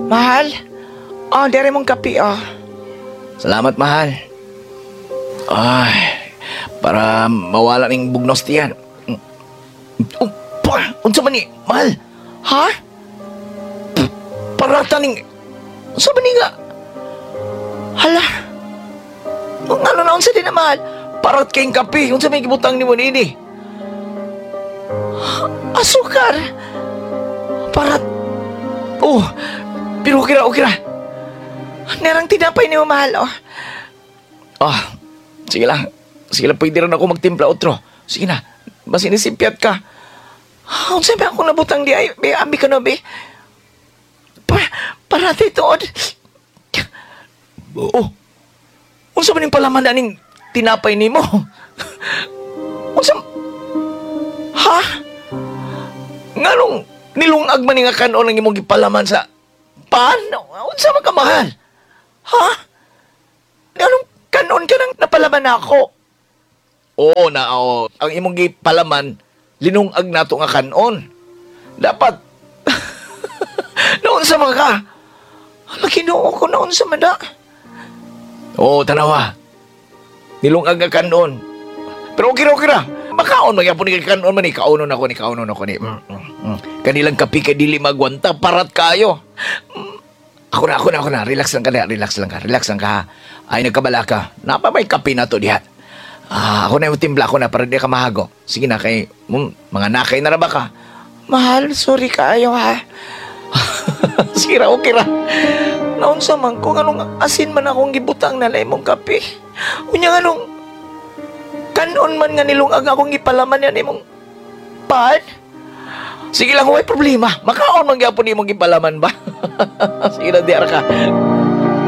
Mahal? Oh, dere mong kape, oh. Salamat, mahal. Ay, para mawala ning bugnos tiyan. Oh, pa, unsa man ni, mahal? Ha? Parata ning, unsa man ni nga? Hala. Ang ano na unsa din na, mahal? Parat kayong kape, unsa may gibutang nimo niini? Asukar. Parat. Oh, pero okay ra, okay ra. Nerang tinapay nimo, mahal, oh. Ah, sige lang. Sige lang, pwede rin ako magtimpla otro. Sige na, basin isimpyat ka. Ah, unsa ba akong nabutang di ay? Be, abi ka na, be. Parati tuod. Oh, unsa man yung palaman na ning tinapay nimo? Unsa? Ha? Nganong nilungag man ni nga kanon ang imong gipalaman sa pan? Unsa man ka, mahal? Ha? Anong kanon ka nang napalaman ako? Oo na, oo. Ang imong gipalaman, linungag nato nga kanon. Dapat, naunsa man ka? Hala, Ginoo ko, naunsa man da. Oo, tanawa. Nilungag nga kanon. Pero okay ra, okay ra. Makaon magyapon ni kanon man ni kaunon ako ni kaunon ako ni. Kanilang kape kay dili magwanta parat kayo. Ako na, ako na, ako na. Relax lang ka na, relax lang ka, relax lang ka, ha. Ay, nagkabala ka. Napa may kape na to diha. Ah, ako na yung timpla ako na para di ka mahago. Sige na kay mga nakay na ra ba ka? Mahal, sorry kaayo ha. Sige ra, okay ra. Naunsa man ko, anong asin man akong gibutang na imong kape. Unya anong kanon man nga nilungag akong gipalaman yan imong pan. Sige lang, way problema. Makaon man gyapon imong gipalaman ba? Sige na, diara ka.